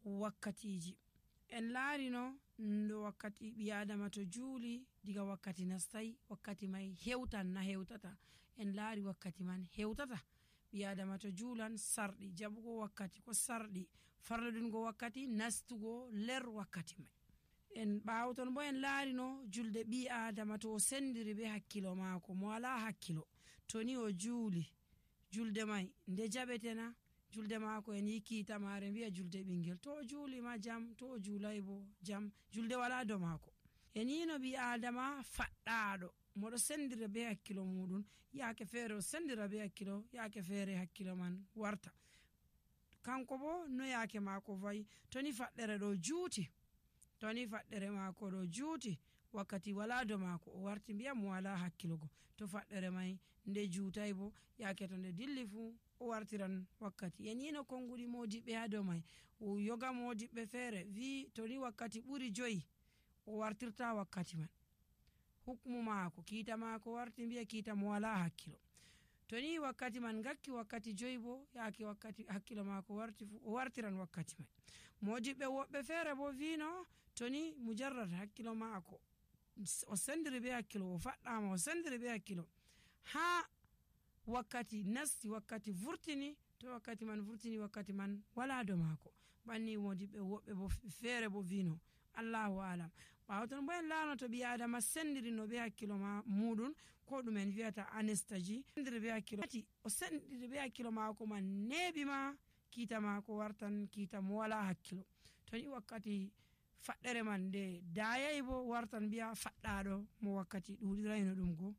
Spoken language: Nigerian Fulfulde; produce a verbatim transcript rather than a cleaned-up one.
wakkatiji. En laarino ndo wakkati ɓi adama to juuli diga wakkati nastai wakkati mai hewtan na hewtata. En laari wakkati man hewtata. ɓi adama to juulan sarɗi jaɓugo wakkati ko sarɗi, farlodungo wakkati, nastugo ler wakkati mai. En ɓaawton bo en laarino julde ɓi adama to o sendiri be hakkilo maako mo wala hakkilo, to ni o juuli julde mai nde jaɓetena julde maako en yi kiita maare mbiya julde ɓingel, to o juuli ma jam, to o juulay bo jam, julde wala do maako. En yino ɓi adama faɗɗaaɗo moɗo sendira be hakkilo muɗum, yaake feere o sendira be hakkilo, yaake feere hakkilo man warta. Kanko bo no yaake maako vayi, to ni faɗɗere ɗo juuti, to ni faɗɗere maako ɗo juuti wakkati wala do maako, o warti mbiya mo wala hakkilogo. To faɗɗere mai nde juutay bo yaake to nde dilli fu o wartiran wakkati. En yino konguɗi modiɓɓe ha dow mai, o yoga modiɓɓe feere wi to ni wakkati ɓuri joyi o wartirta wakkati man. Hukmu maako kiita maako warti mbiya kiita mo wala hakkilo. To ni wakkati man ngakki wakkati joyi bo yaake wakkati hakkilo maako warti fu o wartiran wakkati mai. Modiɓɓe woɓɓe feere bo vino to ni mujarrad hakkilo maako o sendiri be hakkilo, o faɗɗama o sendiri be hakkilo, ha wakkati nasti wakkati vurtini, to wakkati man vurtini wakkati man wala do maako. Banni modiɓɓe woɓɓe bo feere bo vino Allahu alam. Ɓaawton bo en laano to ɓi adama sendiri no be hakkilo ma muɗum ko ɗum en wiyata anestaji, sendiri be hakkilo o sendiri be hakkilo maako man neeɓi ma kiita maako wartan kiita mo wala hakkilo. To ni wakkati faɗɗere man nde dayay bo wartan mbiya faɗɗaɗo mo wakkati ɗuɗirayno ɗum go